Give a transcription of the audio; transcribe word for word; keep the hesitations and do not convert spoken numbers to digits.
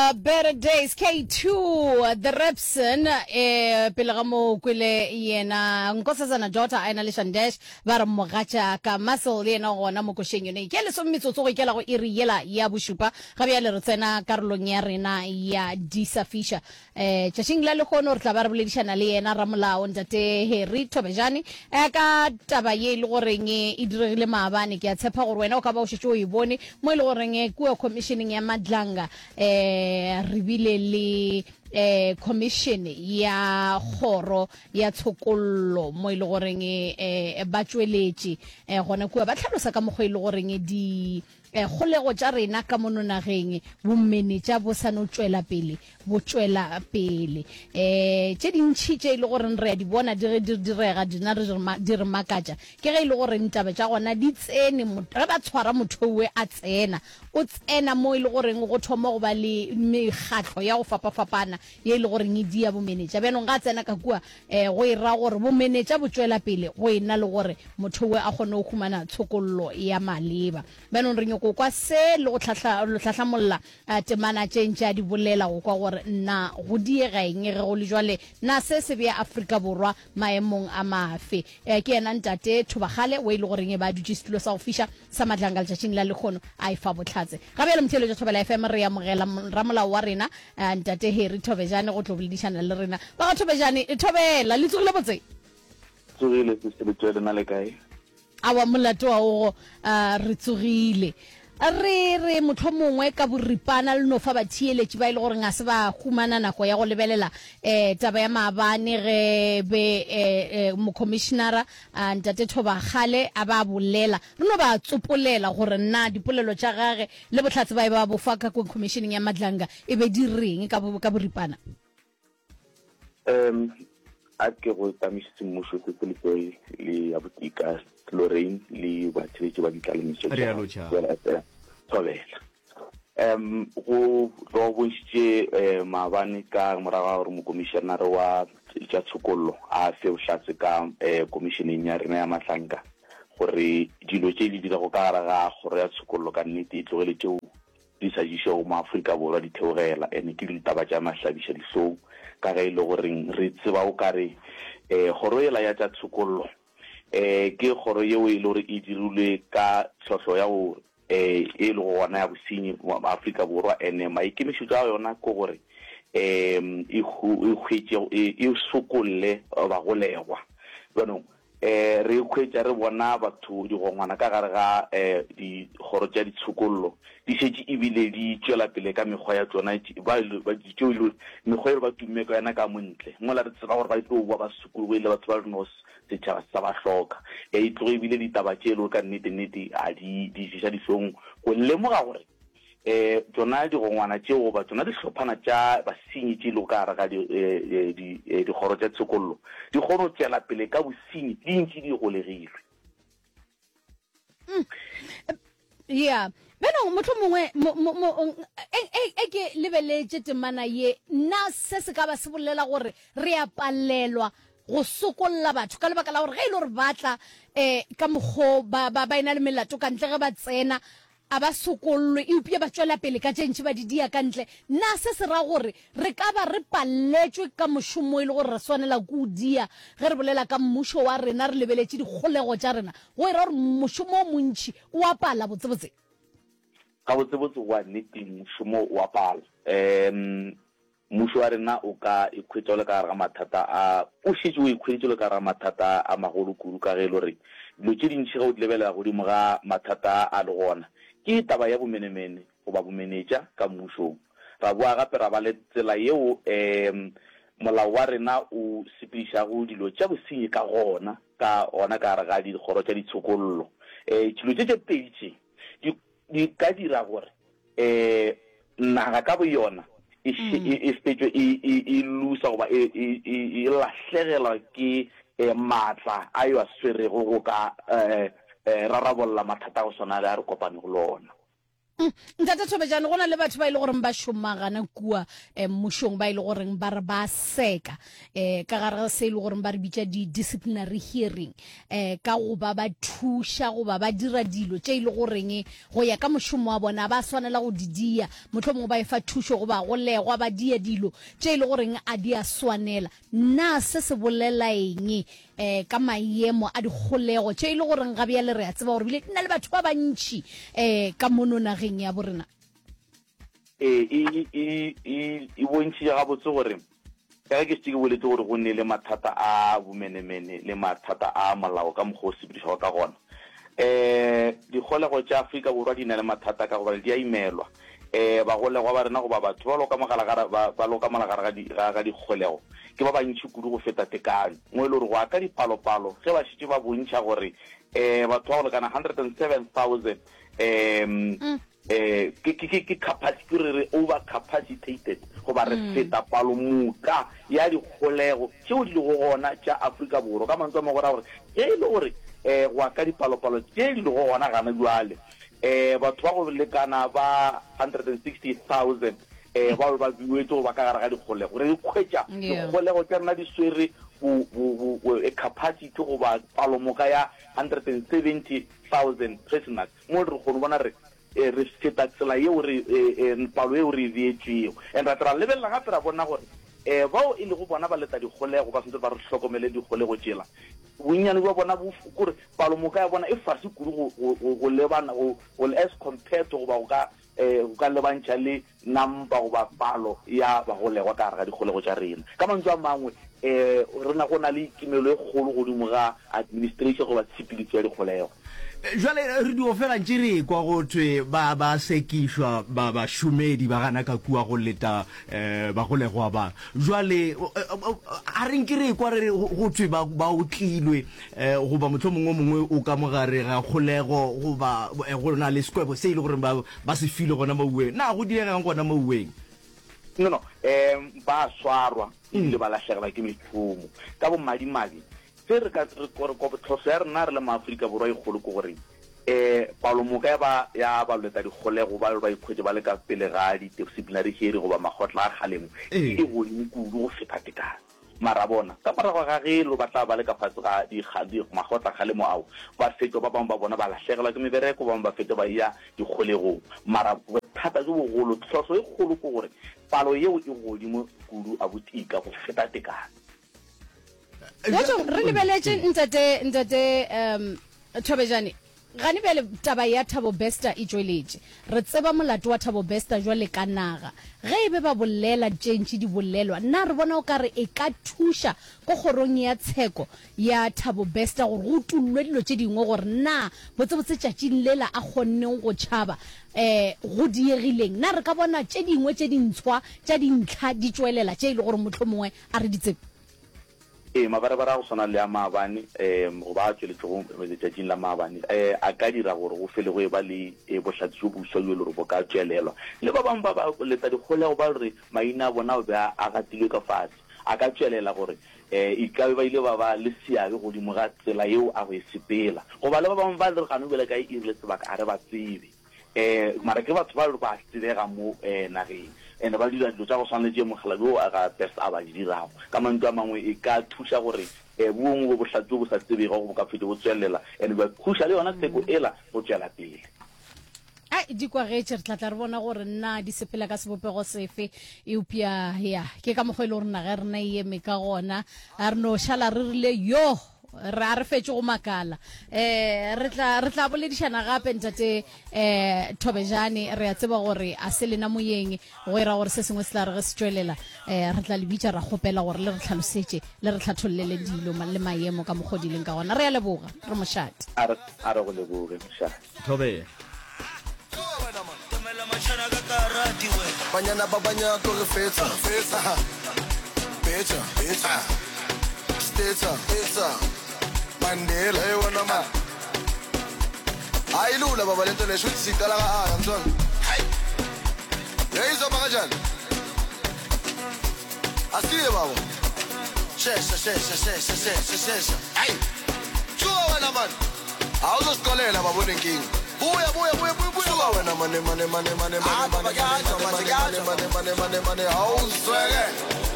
Uh, Better Days K two The Repson, eh pele ga mo kwele yena Nkosazana Daughter a ena le Shandesh ba re mogatša ka Muscle le yena gona mo košeng yone. Ke lesome metsotso go ikela go iri yela ya bošupa. Ga bjale re tsena karolong ya rena ya Disa Fisher. Eh tšatšing la lehono re tla ba re boledišana le yena ramolao ntate Harry Thobejane eh ka taba ye e le goreng e diregile maabane. Ke a tshepa gore wena o ka ba o šetše o e bone mo e le goreng kua commissioning ya Madlanga eh re bile le eh commission ya kgoro ya tshokollo mo e le goreng eh ba tšweletše eh gona kua ba tlhalosa ka mokgwa e le goreng di eh kgolego tša rena ka mono nageng bomenetša bo sa no tšwela pele bo tšwela pele eh tše dintšhi tše e le goreng re a di bona di ge di direga dina re di re makatša ke ge e le goreng taba tša gona di tsene ge ba tshwara motho owe a tsena o tsena mo e le goreng go thoma go ba le mekgatlo ya go fapafapana ye e le goreng e dia bomenetša. Bjanong ga a tsena ka kua um go e ra gore bomenetša bo tšwela pele go e na le gore motho owe a kgone go humana tshokollo ya maleba. Bjanong re nyoko kwa se le go hlahlamolla temana tše ntše a di bolela go kwa gore na go diega eng ge go le jwale, na se se bea Afrika Borwa maemong a mafe. Ke yena ntate Thobakgale o e le goreng e ba dutše setulo sa go fiša sa Madlanga letšatšing la lekgono a e fa bohlatse. Ga bjale motheeletšo Thobela F M re amogela ramolao wa rena ntate Harry Thobejane go tlo boledišana le rena. Ba ga Thobejane, Thobela, le tsogile botse? Tsogile sister Letswele, na le kae? Awa molato wa ogo, re tsogile. Re re mohlomongwe ka boripana le no fa batheeletši ba e le goreng ga se ba humana nako ya go lebelela um taba ya maabane ge be um mokhomišenara ntate Thobakgale a ba bolela, re no ba tsopolela gore na dipolelo tša gage le bohlatse ba e ba bofa ka khomišeneng ya Madlanga e be di reng ka ka boripana. Um a ke go tamiše semmušo se se Letswele le ya Botika Lorraine le batheletši ba ditlalemišo tša Thobela. Um go tlo bontšhitše maabane ka morago ga gore mokomišenare wa tša tshokollo a fe bohlatse ka komišeneng ya rena ya Mahlanka gore dilo tše di dirago ka gare ga kgoro ya tshokollo ka nnete e tlogele tšeo di sa jišego mo Afrika Borwa di theogela, ene ke ditaba tša mahlabiša dihlong ka ge e le goreng re tseba o kare um kgoro yela ya tša tshokollo um ke kgoro yeo e le gore e dirilwe ka tlhohlo ya go um e lego gona ya bosenyi mo Afrika Borwa, ene maikemišetšo a yona ke gore um e hwetše e sokolle bagolegwa. Bjanong um re hwetša re bona batho digongwana ka gare ga um dikgoro tša ditshokollo di šetše ebile di tšwela pele ka mekgwa ya tšona tšeo mekgwa e ba tumme ka yona ka montle mola re tseba gore ba tlo boa ba sokologile batho ba reno setšhaba sa ba hloka. E tloge ebile ditaba tše e le ka nnete nnete a di di ješa dihlong go lemoga gore um tšona digongwana tšeo goba tšona dihlophana tša basenyi tše lego ka gare ga dikgoro tša tshokollo di kgone go tšwela pele ka bosenyi di ntše di golegilwe. Ya beno mohlomongwe e ke lebeletše temana ye, na se se ka ba se bolela gore re a palelwa go sokolla batho ka lebaka la gore ge e le gore ba tla um ka mokgo ba ba ena le melato ka ntle ge ba tsena a ba sokollwe eupša ba tšwela pele ka tše ntši ba di dia ka ntle, na se se ra gore re ka ba re palletšwe ka mošomo e le gore re swanela ke o dia ge re bolela ka mmušo wa rena re lebeletše dikgolego tša rena, go e ra gore mošomo o montši o a pala botsebotse? Gabotsebotse wa nnete mošomo o a pala. Um mmušo wa rena o ka ikhwetša o le ka gare ga mathata a, o šetše o ikhweditše o le ka gare ga mathata a magolo kudu ka ge e le gore dilo tše dintši ge o di lebelela godimo ga mathata a le gona ke taba ya bomenemene goba bomenetša ka mmušong. Ra boa gape ra ba le tsela yeo um molao wa rena o sepedišago dilo tša bosenyi ka gona ka gona ka gare ga dikgoro tša ditshokollo. Um dilo tše tše pedi tše di di ka dira gore um naga ka boyona e e fetšwe e lusa goba e lahlegelwa ke maatla a yo a swerego go ka rarabolla mathata a go swana le a re kopanego le ona. Mm. Ntate Thobejane, go na le batho ba e le goreng ba šoma gana kua eh, mmušong, ba e le goreng ba re ba seka eh, ka gare ga se e le goreng ba re bitša di-disciplinary hearing, eh, ka go ba ba thuša goba ba dira dilo tše e le goreng go ya ka mošomo wa bona ba swanela go di dia, mohlomongwe ba efa thušo goba go legwa ba dia dilo tše e le goreng a di a swanela. Na se se bolela eng eh, ka maemo a dikgolego tše e le goreng ga bjale re a tseba gore bile di na le batho ba bantši eh, ka mono nageng ya borena? Ee, e, e, e, e bontšhitše gabotse gore ka ge ke šetše ke boletse gore go ne le mathata a bomenemene le mathata a molao ka mokgwa o sepedišwago ka gona. Um dikgolego tša Afrika Borwa di na le mathata ka gobane di a imelwa. Um bagolegwa ba rena goba batho ba loka mogala ga ba, ba loka mogala ga, ga, ga dikgolego ke ba bantši kudu go feta tekano. Mo e le gore go ya ka dipalopalo ge ba šetše ba bontšha gore um batho ba go lekana hundred and seven thousand um mm. eh ke ke ke capacity re re over capacitated goba re mm. feta palo moka ya dikgolego tšeo di lego gona tša Afrika Borwa. Ka mantswe a mangwe go ra gore ge e le gore eh go ya ka dipalopalo tše di lego gona gana jwale eh batho ba go lekana ba hundred and sixty thousand eh ba ba buetse go ba ka gare ga dikgolego, re ikhwetša dikgolego tša rena di swere bo bo bo capacity goba palo moka ya hundred and seventy thousand prisoners. Mo re kgone bona re re feta tsela yeo re palo yeo re e beetšwego. And ra tla ra lebelela gape ra bona gore eh bao e lego bona ba leta dikgolego ba santse ba re hlokomele dikgolego tšela, bonnyane bja bona bo kore palo moka ya bona e fase kudu go go go lebana go as compared to goba go ka eh go ka lebantšha le nampa goba palo ya bagolegwa ka gare ga dikgolego tša rena. Ka mantswe a mangwe eh rena go na le kimelo e kgolo godimo ga administration goba tshepedišo ya dikgolego. Jwale re dio fela ntše re ekwa go thwe ba ba sekišwa ba bašomedi ba gana ka kua go leta eh bagolegwa ba. Jwale a re nke re ekwa re go thwe ba ba otlilwe eh goba mohlomongwe o mongwe o ka mogare ga kgolego goba go na le sekwebo se e le gore ba ba se filwe gona mauweng. Na go diregang gona mauweng? No no, eh ba swarwa ebile ba lahlegelwa ke mešomo. Ka bomadimabe se re ka re tlhohlo ya rena re le maAfrika Borwa e kgolo ke gore eh palo moka ya ba ya ba leta dikgolego ba ba ikhwetše ba le ka pele ga di-disciplinary hearing goba makgotla a kgalemo e godimo kudu go feta tekano. Mara bona ka morago ga ge lo ba tla ba le ka fase ga di makgotla kgalemo ao ba fetšwa, ba bangwe ba bona ba lahlegelwa ke mebereko, ba bangwe ba fetšwa ba ya dikgolegong. Mara bothata bjo bogolo, tlhohlo e kgolo ke gore palo yeo e godimo kudu a botika go feta tekano. Bjatšo re lebeletše ntate ntate um Thobejane, gane bjale taba ya Thabo Bester e tšweletše. Re tseba molato wa Thabo Bester jwale ka naga. Ge e be ba bolela tše ntši di bolelwa, na re bona o ka re e ka thuša ko kgorong ya tsheko ya Thabo Bester gore go utollwe dilo tše dingwe gore na botsebotse tšatšing lela a kgonneng go tšhaba eh go diegileng? Na re ka bona tše dingwe tše dintshwa tša dintlha di tšwelela tše e le gore mohlomongwe a re di tsebe? Ee, mabarebare a go swana le a maabane um goba a tšweletšego letšatšing la maabane um a ka dira gore go fele go eba le bohlatse bjo boswa bjo e le gore bo ka tšwelelwa. Le ba bangwe ba ba leta dikgolego ba re maina a bona a be a gatilwe ka fase, a ka tšwelela gore um e ka be ba ile ba ba le seabe godimo ga tsela yeo a go e sepela. Goba le ba bangwe ba re gane bjale ka e rile sebaka a re ba tsebe. Eh mara ke batho ba ba tsebega mo eh nageng and ba dira dilo tša go swana le tše mokgalabje wo a ga Best a ba di dirago. Ka mantšu a mangwe e ka thuša gore eh bongwe bo bohlatse bjo bo sa tsebego bo ka fetše bo tswelela and bja thuša le yona tsheko ela go tšwela pele. Ai di kwagetše, re tla tla re bona gore na di sepela ka sebopego sefe, eupša ya ke ka mokgwa e le gore naga ya rena e eme ka gona. A re no šala re rile yo re a re fetše go makala. Eh re tla re tla boledišana gape ntate eh Thobejane, re a tseba gore a se lena moyeng go era gore se sengwe se tla re ge se tšwelela eh re tla le bitša ra kgopela gore le re tlhalosetše le re tlhathollele dilo le maemo ka mokgwa di leng ka gona. Re a leboga, re mošate. A re a re go leboge mošate. Thobela. Banyana ba banyako re fetsa fetsa betsa betsa stetsa etsa Mandela hey wena man hayi lula baba lento le shuthi siqala ka A ngizona hayi hey izoba kanjani asiye baba shesha shesha shesha shesha shesha hayi tsuka wena man awuzosixolela baba unenkinga. Boya boya boya boya boya. Suka wena mane mane mane mane mane mane mane mane mane mane mane mane mane. Awuzweke.